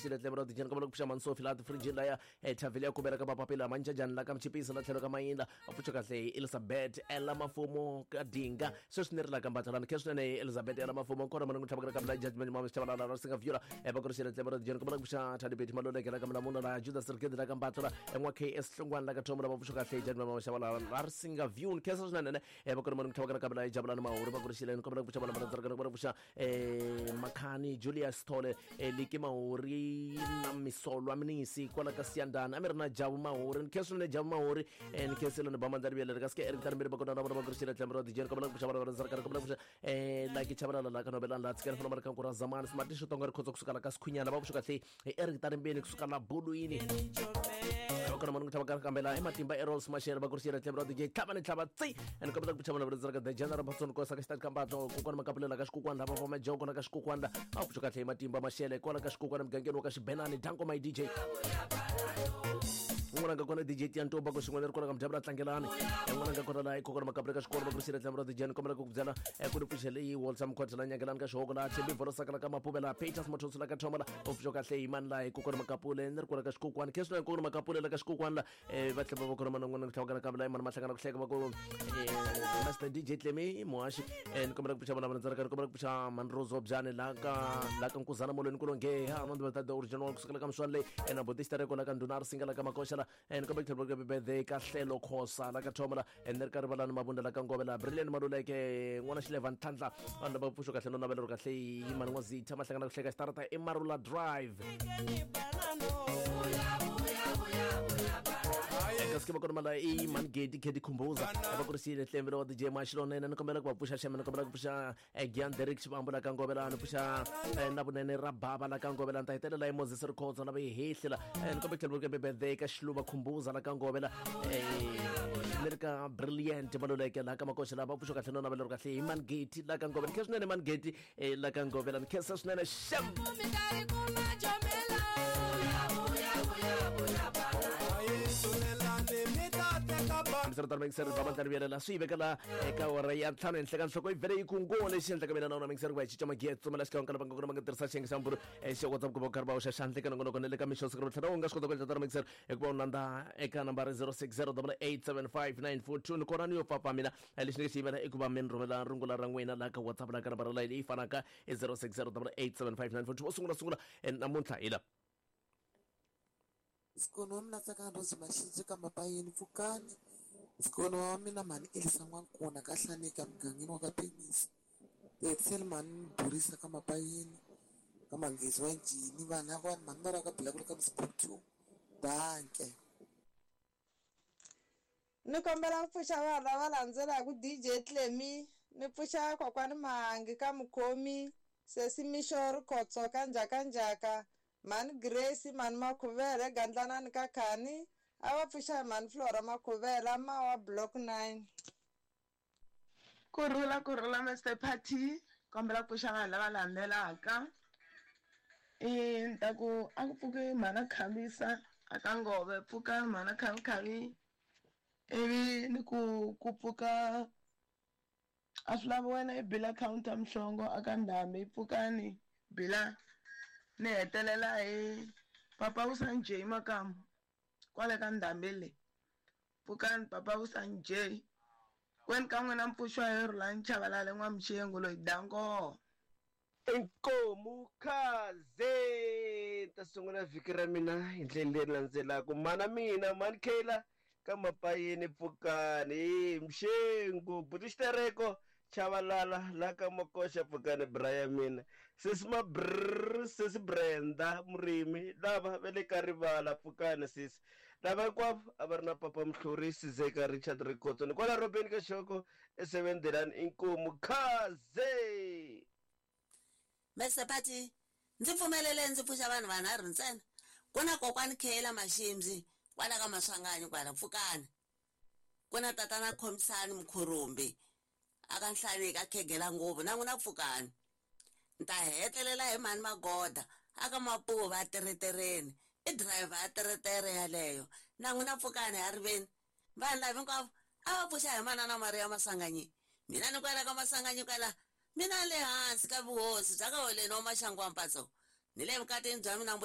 xile tlhelo ra dijeni kombela ku pfuxa Mansofi laha tifrijini laya ethavheli ya kubela ka mapapila manjajani la ka mchipisa la tlhelo ka mayinda a pfuxa kahle hi Elizabeth Ella Mafumo ka Dinga sweswi ni ri la ka Mbathalani khe swinene hi Elizabeth Ella Mafumo kona mani ku tlhava ka la judgment mama xithavalala ra singa vyula va ku ri xile tlhelo ra dijeni kombela ku pfuxa Thandi Betty Maluleke la ka Mlamula la Judas Rigedi la ka Mbathala en'wa KS Hlongwane la ka Thomo la va pfuxa kahle hi judgment mama xithavalala ra singa vyula khe swinene va ku ri mani ku tlhava ka la Jabulani Mahuri va ku ri xile kombela ku pfuxa vana va rhandzaka kombela ku pfuxa Makhani Julius Thole Liki Mahuri na Misolwa Minisi kwala ka Siyandana a mi ri na Jabu Mahuri ni khensa swinene Jabu Mahuri ni khensile ni ba mandla riviyelele ka sike Eric Tarimbiri va kona na vona va ku ri xile tlhelo ra DJ kombela ku pfuxa vana va rhandzaka kombela ku pfuxa Lucky Chabalala la ka Nobelani la tshikela fana ka ra Zamani Smart Xitonga ri khotsa kusuka la ka Sikhunyana va pfuxa kahle hi Eric Tarimbeni kusuka la Bulwini kona mani ku tlhava ka kambela i matimba Errol Mashele va ku ri xile tlhelo ra DJ tlhava ni tlhava tsi and kombela ku pfuxa vana va rhandzaka the General Patson Kosa ka xitati kambatlo kokwana makapulela ka xikukwana lava va majoko na ka xikukwana a pfuxa kahle hi matimba Mashele kwala ka xikukwana mugangeni wa ka Xibenani danko my DJ un'wana nga kona DJ Tiantoba ko xin'wana ri kona ka mudyabula tlangelani un'wana nga kona laha kokwana makapula ka xikolo va ku ri xile tlhelo ra DJ ni kombela ku ku byela ku ri pfuxele yi Walter Mkhwatha la nyangelani ka xihoko la Thembi Volo Sakala ka Mapuvela Peters Mathonsi la ka Thoma la u pfuxa kahle hi mani laha hi kokwana makapule ni ri kona ka xikukwana khe swinene kokwana makapule la ka xikukwana la va tlhela va kona mana n'wana ku tlhava ka la mani mahlangana ku hleka va ku Master DJ Clemi Muhaxi ni kombela ku pfuxa vana va ndzaraka ni kombela ku pfuxa Manrozo Byani la ka la ka Nkuzana Molweni ku longe ha no ndzi ta original kusukela ka Mswani leyi na Bodista Reko la ka Ndhuna Risinga la ka Makoxa la ni kombela ku tlhela ku birthday ka Hlelo Khosa la ka Thoma la ni ri ka Rivalani Mabunda la ka Ngove la Brilliant Maluleke n'wana Xileva Ntlhantlha vanhu lava pfuxo kahle no navela ro kahle hi mani n'wa Zitha mahlangana ku hleka xitarata i Marula Drive kasi ke va kona mala i mani gedi khedi khumbuza va ku ri xile hlembele wa DJ Maxilonene ni kombela ku va pfuxa xeme ni kombela ku pfuxa Gian Derek Xivambu la ka Ngovela ni pfuxa na vunene ra bava la ka Ngovela ni ta hetelela hi Moses Rikhotso la va yi hehlela ni kombela ku tlhela ku birthday ka Xiluva Khumbuza la ka Ngovela ni ri ka Brilliant Maluleke la ka Makoxa la va pfuxa kahle no navela ro kahle hi Mani Geti la ka Ngovela ni khensa swinene Mani Geti la ka Ngovela ni khensa swinene xem hambiswiritano mingiseri ba mandla rivelela swi yi vekela eka awara ya ntlhanu henhla ka nhloko yi vhele yi ku ngo lexi endlaka mina na wona mingiseri ku va hi cinca magiya tsumela xikan'we ka lava nga kona va nga tirhisa xiyenge xa mburu xa WhatsApp ku va karhi va hoxa xandla eka nongonoko na le ka mixo siku ro tlhela u nga swi kota ku endla tano mingiseri hikuva u landza eka nambara 0608875942 ni kona ni yo pfapfa mina lexi ni nga xi yimela i ku va mi ni rhumela rungula ra n'wina laha ka WhatsApp laha ka nambara leyi fanaka i 0608875942 wo sungula sungula namuntlha hi la Mzukulu wa mina Tsakani Rose Maxidzi ka Mapayeni Pfukani mzukulu wa mina mhani Elisa N'wankuna ka Hlanika mugangeni wa ka Penisi Tetsel mhani Burisa ka Mapayeni ka Manghezi wa Njhini vanhu lava mhani va ka Bilakula ka Mzukulu Danke. Ni kombela ku pfuxa vanhu lava landzelaka DJ Clemy ni pfuxa kokwani Mahangi ka Mukhomi sesi Mixo Rikhotso ka Njhakanjhaka mhani Grace mhani Makhuvele Gandlanani ka Khani a va pfuxa hi mhani Flora Makhuvela mawa Block 9. Kurhula kurhula Mister Party kombela ku pfuxa vanhu lava landzelaka i ni ta ku a ku pfuki mhana Khavisa a ka Ngove pfuka mhana Khavikhavi ivi ni ku ku pfuka a swi lavi wena i bila counter Mhlongo a ka Ndhambi pfukani bila ni hetelela hi papa Vusanjay Makamu kwale ka Ndhambi le pfukani papa Vusanjay kweni ka n'wina mpfuxwa hi Rhulani Chavalala n'wamuxengo loyi danko. Inkomu khaze ta sungula vhiki ra mina hi ndlela leyi landzelaka mana mina mani Kayla ka Mapayeni pfukani Mxengu buti Xitereko Chavalala la ka Makoxa pfukani bra ya mina sesi Mabrr sesi Brenda Murimi lava va le ka Rivala pfukani sesi lava hinkwavo a va ri na papa Mhlurisi Zeka Richard Rikhotso ni kwala Robeni ka Xoko esevendelani inkomu khaze. Mr Party ndzi pfumelele ndzi pfuxa vanhu vanharhu ntsena ku na kokwani Khela Maximzi kwala ka Maswanganyi kwala pfukani ku na tatana Khomisani Mkhurumbi aka Nhlaneki a khegela ngopfu na n'wina pfukani ni ta hetelela hi mhani Magoda aka Mapuva a teretereni i driver ya teretere yaleyo na n'wina pfukani a riveni vanhu lava hinkwavo a va pfuxa hi manana Maria Maswanganyi mina ni kwala ka Maswanganyi kwala mina le hansi ka vuhosi bya ka Holeni wa Maxangu wa Mpatso ni le vukatini bya mina mbuya.